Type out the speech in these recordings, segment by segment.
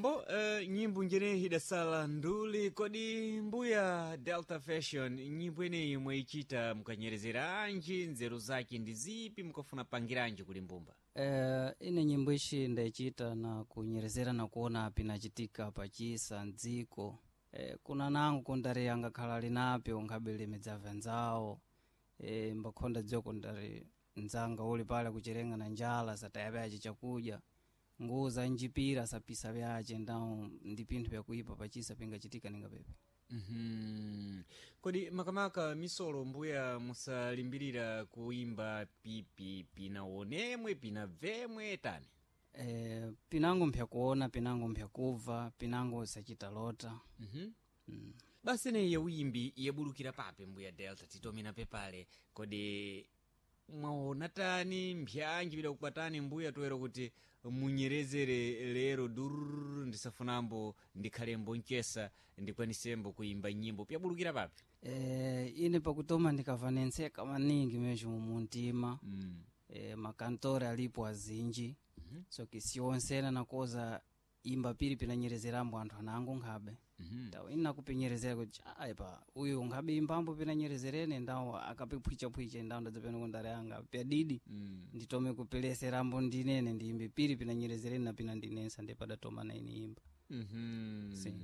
Mbo nyimbo njene idasala nduli. Kodi mbuya Delta Fashion, nyimbo ineyi mwayichita mukanyerezera anji? Nzeru zake ndi zipi? Mukafuna pangiranji kuli mbumba? Ine nyimbo ishi ndaichita na kunyerezera na kuona pinachitika pachisa mdziko. Kuna nangu kundari angakhala linapyo nkhabele midzava nzawo. Mbakhonda dziwa kundari nzanga uli pale kucherenga na njala, sataya pyace chakudya, nguwo za njipira sapisa pyace, ndawo ndi pinthu pyakuipa pachisa pingachitika ninga pepe. Kodi makamaka misolo mbuya musalimbirira kuimba pipi pinaonemwe pinabvemwe tani? Pinango mpyakuona, pinango mpyakubva, pinango sachita lota. Basi neyi yawimbi yabulukira pape mbuya Delta, titomina pepale. Kodi mwaona tani mpyanji pidakukwatani mbuya toera kuti munyerezere lero dururu ndisafunambo ndikhalembo mchesa ndikwanisembo kuimba nyimbo pyabulukira pape? Ine pakutoma ndikava nentseka maningi mesmo muntima. Makantore alipo azinji. So kisiyonsena nakoza imba pili pinanyerezerambo anthu anango nkhabe. Ndawo ine nakupinyerezera kuti aipa uyu nkhabe imbambo pinanyerezerene, ndawo akapiphwichaphwicha, ndawo ndadzapena kundare anga pyadidi. Nditome kupeleserambo ndinene ndiyimbe pili pinanyerezerene na pina ndinensa, ndipadatoma na ine imba. Si.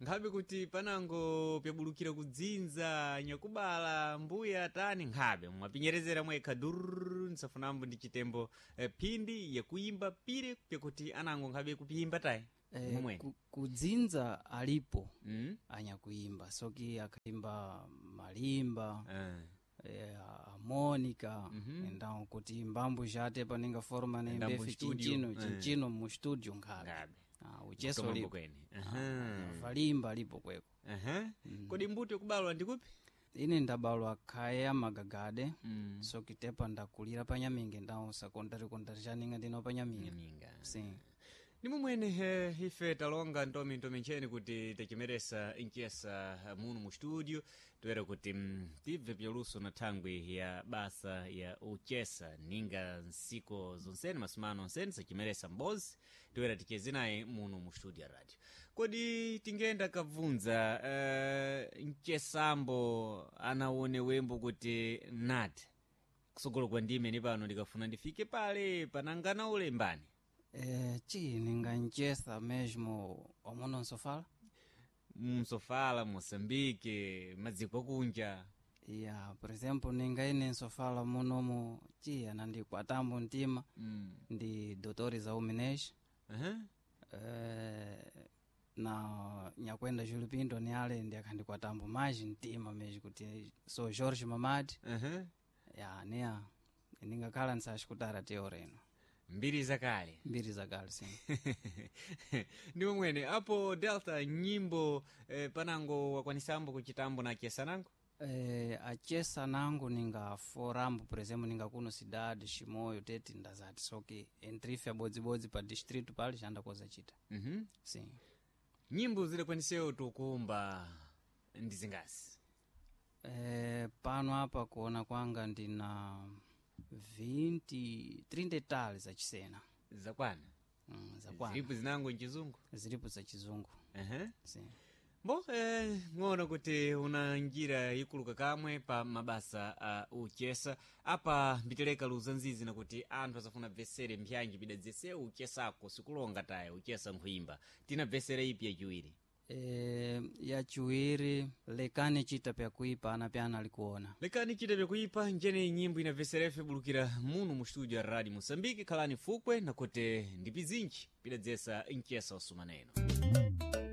Nkhabe kuti panango pyabulukira kudzinza nyakubala mbuya tani, nkhabe mwapinyerezera mwekha dururu ndisafunambo ndi chitembo phindi yakuimba pire pyakuti anango nkhabe kupiyimba tayi? Momwe. Kudzinza alipo anyakuimba soki akaimba malimba. Monica. Ndawo kuti mbambo jate paninga forma Ndambo nembefe studio. chinchino chinchino mu studio nkhabe. Nkhabe. Ucheso Kutomambo lipo. kwene. Valimba lipo kweko. Aha. Kodi mbuto yakubalwa ndikupi? Ine ndabalwa khaya magagade. Sokitepa ndakulira panyaminge, ndawo sekondari kondari chaninga ndino panyaminge. Nyaminga. Si. Ni mumwene ife talonga ntomi ntomi ncheni kuti tachimeresa nchesa muno mu studio toera kuti tibve pyaluso na thangwi ya basa ya uchesa ninga nsiko zonsene masumano onsene sachimeresa mbozi toera ticheze naye muno mu studio ya radio. Kodi tingenda kabvunza mchesambo anaone wembo kuti nati kusogolo kwa ndime ni pano ndikafuna ndifike pale panangana ulembani? Chi ninganchesa mesmo omuno nsofala. Msofala Moçambique, madziko akunja. Ya, por exemplo, ninga ine nsofala munomu chi anandikwatambo mtima ndi Dr. Zauminesh. Na nyakwenda Júlio Pinto ni ale ndi akhandikwatambo maji mtima mesmo kuti so Jorge Mamadi. Ya, neya ningakhala nsachikutara teyo reno. Mbiri zakale. Mbiri zakale, sim. Ndi momwene apo Delta nyimbo panango wakwanisambo kuchitambo na chesa nango? Achesa nangu ninga forambo, por exemplo, ninga kuno cidade Chimoio teti ndazati soki entrife abodzibodzi pa distrito pali chandakoza chita. Sim. Nyimbo zidakwanisewo tukumba ndi zingasi? Pano apa kuona kwanga ndina 20 30 tali zachisena. Zakwana. Zakwana. Zilipo zinango mchizungu? Zilipo za chizungu. Sim. Bo ng'ono kuti una njira ikuluka kamwe pa mabasa a uchesa apa mbiteleka luza nzizi nakuti anthu asafuna bvesere mpyanji pidadzese uchesako sikulonga taya uchesa nkhuimba tina bvesere ipi yachiwiri? Yachiwiri lekani chita pyakuipa ana pyana alikuona. Lekani chita pyakuipa njene nyimbo inabveserefe bulukira muno mu studio ya Radio Moçambique. Khalani fukwe nakuti ndipizinji pidadzesa mchesa wasumaneno.